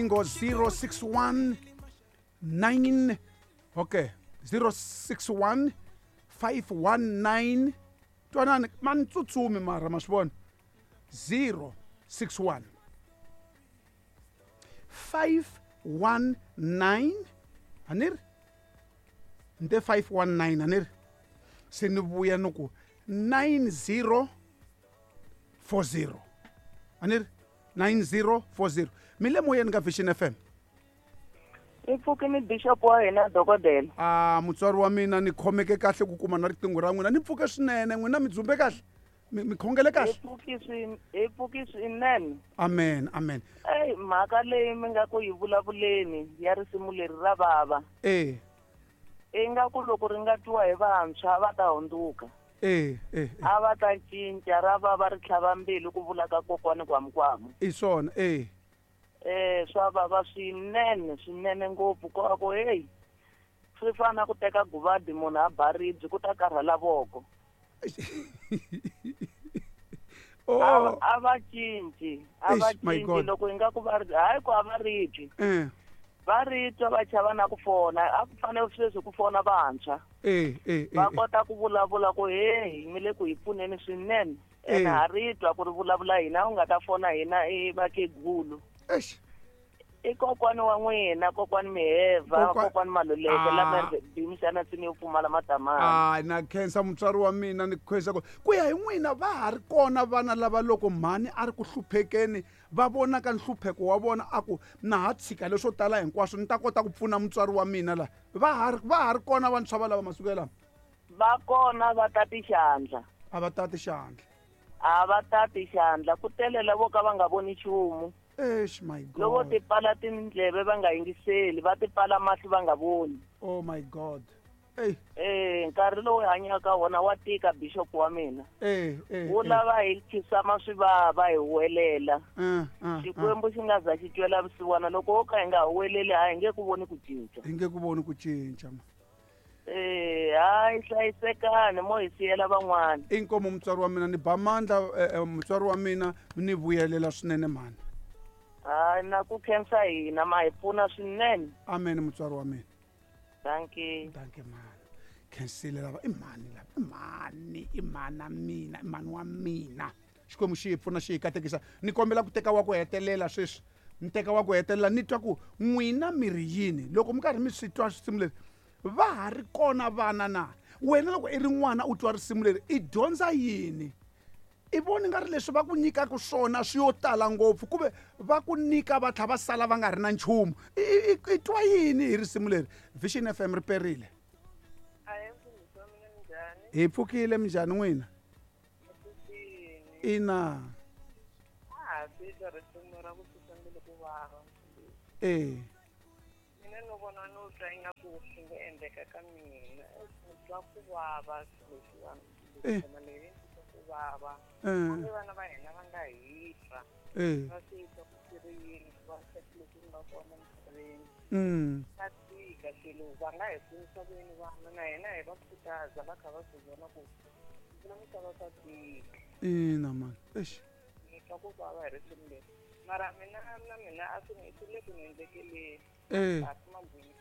Riqingho 061 9, okay, 061 519. Twanani, ma ni tsutsumi mara ma swi vona. 061 519, a ni ri ni te 519, a ni ri se ni vuya ni ku 9040, a ni ri 9040. Mi le moyeni ka Vision FM. I pfukini bishop wa hina dokodela. A mutswari wa mina, ni khomeke kahle ku kuma na riqingho ra n'wina. Ni pfuke swinene, n'wina mi dzumbe kahle, mi khongele kahle. Hi pfuki swinene. Amen, amen. Eyi, mhaka leyi mi nga ku yi vulavuleni ya risimu leri ra vava. Ingaku loko ri nga twiwa hi vantshwa va ta hundzuka. A va ta cinca, ra vava ri tlhava mbilu ku vula ka kokwani Kwamukwamu. I swona, e. Swa vava swinene, swinene ngopfu, ko va ku heyi, swi fana na ku teka guvadi munhu a ba ribye ku ta karhala voko. A va cinci, a va Eish, my cinci. God. Loko ingaku va ri hayi ku a va ri twi. Va ri twa va chava na ku fona, a ku fanele sweswi ku fona vantshwa. Va kota ku vulavula ku heyi, mi le ku hi pfuneni swinene. Ene ha ri twa ku ri vulavula hina, u nga ta fona hina i vakhegulu. Eish. I kokwani wa n'wina, kokwani Miheva, kokwani Maluleke, lama bimisana nsimu yo pfumala matamani. Na khensa mutswari wa mina, ni khensa ku ya hi n'wina va ha ri kona vana lava loko mhani a ri ku hluphekeni va vonaka nhlupheko wa vona a ku na ha tshika leswo tala hinkwaswo ni ta kota ku pfuna mutswari wa mina la. Va ha ri kona vantshwa va lava masiku ya lama? Va kona, va tati xandla. A va tati xandla. A va tati xandla, ku tele lavo ka va nga voni nchumu. Eish, my God. Loko ti pfala tindleve va nga yingiseli, va ti pfala mahlo va nga voni. Oh my God. Ey. Nkarhi lowu hi hanyaka wona wa tika, bishop wa mina. Wu lava hi khisama swivava hi huwelela. Xikwembu xi nga za xi twela vusiwana, loko wo ka hi nga huweleli a hi nge ku voni ku cinca. Hi nge ku voni ku cinca, ma. Hayi, hlayisekani mo hi siyela van'wana. Inkomu mutswari wa mina, ni ba mandla mutswari wa mina, ni vuyelela swinene mhani. Hayi, na ku khensa hina, ma hi pfuna swinene. Amen mutswari wa mina. Thank you. Thank you mhani. Khensile lava i mhani lava, i mhani, i mhana mina, i mhani wa mina. Xikwembu xi hi pfuna, xi hi katekisa. Ni kombela ku teka wa ku hetelela sweswi. Ni teka wa ku hetelela, ni twa ku n'wina mi ri yini loko mi karhi mi swi twa risimu leri. Va ha ri kona vana na? Wena loko i ri n'wana u twa risimu leri, i dyondza yini? I voni nga ri leswi va ku nyikaka swona swi yo tala ngopfu, kumbe va ku nyika va tlhela va sala va nga ri na nchumu. I twa yini hi risimu leri? Vision FM ri perile. Hi pfukile, minjhani n'wina? Ina. Mina no vona no twa ingaku swi nga endleka ka mina. Ni twa ku vava swilo leswiwani. Nghoma leyi ni twa ku vava. Hambi vana va hina va nga hi twa. Va swi twa ku swi ri yini, ku vaviseka loku nga kona emisaveni. Swa tika swilo, va nga hi pfunisa ku yini vana, na hina hi va khutaza va kha va swi vona ku na misava swa tika. Ina man. Eish. Ni twa ku vava hi risimu leri. Mara mina na mina a swi ni swi le ku ni endlekeleni. A swi magwini.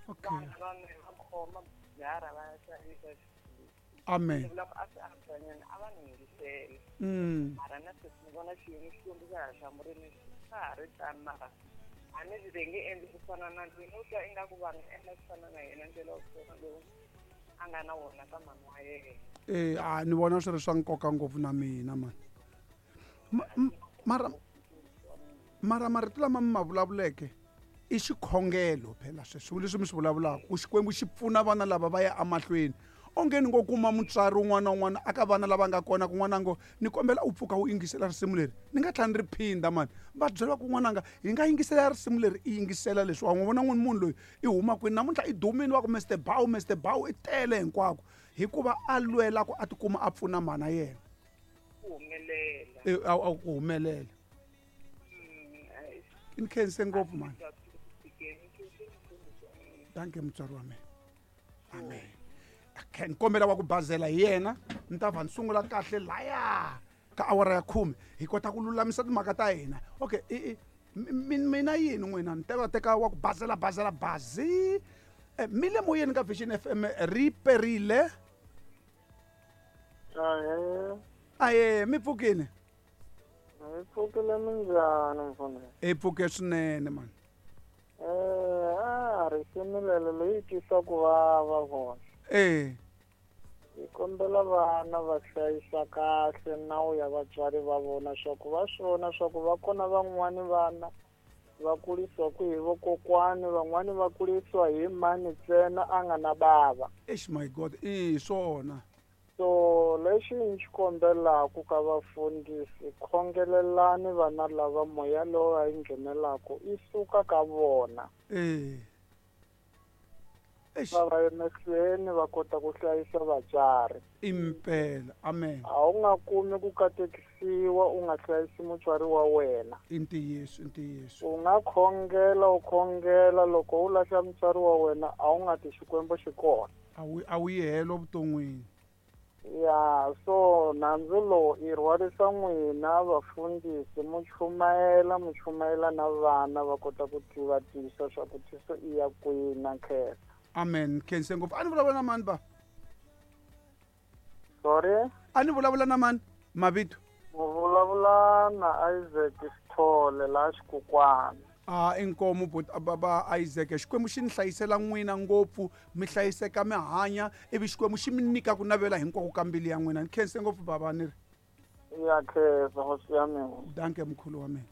Vana va mina va khoma byara va ya xavisa. Amen. Ni vula ku a swi antswanyana a va ni yingisela. Mara na sweswi ni vona xiyimo Xikwembu xa ha hlamurile, swa ha ri tano, mara a ni ve nge endli ku fana na loyi. No twa ingaku va nga endla ku fana na yena, ndlela wo fana lowu a nga na wona ka mhani wa yena. A ni vona swi ri swa nkoka ngopfu na mina mani. Mara marito lama mi ma vulavuleke i xikhongelo phela sweswo leswi mi swi vulavulaka, ku Xikwembu xi pfuna vana lava va ya emahlweni. Onge ni ngo kuma mutswari un'wana na un'wana aka vana lava nga kona ku n'wana ngo ni kombela u pfuka u yingisela risimu leri, ni nga tlhela ni ri phinda mani. Va byela ku n'wananga hi nga yingisela risimu leri, i yingisela leswi. Wa n'wi vona n'wini munhu loyi i huma kwini namuntlha, i dumile wa ku Mister Bow, Mister Bow i tele hinkwako hikuva a lwela ku a tikuma a pfuna mhana yena. Ku humelela. A ku humelela. Ni khense ngopfu mani. Thank you mutswari wa mina. Amen. Okay, ni kombela wa ku bazela hi yena, ni ta va ni sungula kahle laya ka awara ya 10 hi kota ku lulamisa timhaka ta hina. Okay, Mina yini n'wina ni teka teka wa ku bazela bazela bazi. Mi le moyeni ka Vision FM ri perile. Ahee. Aye, mi pfukile? Mi pfukile minjhani mfundhisi? Hi pfuke swinene mani. A risimu lelo leyi twisa ku vava vona. Hi kombela vana va hlayisa kahle nawu ya vatswari va vona swa ku va swi vona swa ku va kona van'wani vana va kurisiwa ku hi vokokwani, van'wani va kurisiwa hi mani ntsena a nga na bava. Eish my God, i swona. So lexi ni xi kombelaka ka vafundhisi, khongelelani vana lava moya lowu va yi nghenelaka i suka ka vona. Va va emahlweni va kota ku hlayisa vatswari. Impela, amen. A wu nga kumi ku katekisiwa u nga hlayisi mutswari wa wena. I ntiyiso, i ntiyiso. U nga khongela u khongela, loko u lahla mutswari wa wena a wu nga ti Xikwembu xi kona. A wu yi helo vuton'wini. Ya, so nandzu lowu i rhwarisa n'wina vafundhisi, mu chumayela mu chumayela na vana va kota ku tiva tisa swa ku tiso i ya kwihi na khensa. Amen. Khense ngopfu. A ni vulavula na mani ba? Sorry? A ni vulavula na mani? Mavito? U vulavula na Isaac Sithole laha Xikukwana. A inkomu baba Isaac, Xikwembu xi ni hlayisela n'wina ngopfu, mi hlayiseka mi hanya, ivi Xikwembu xi mi nyika ku navela hinkwako ka mbilu ya n'wina. Ni khense ngopfu baba ni ri. Ya khensa hosi ya mina. Danke mkhulu wa mina.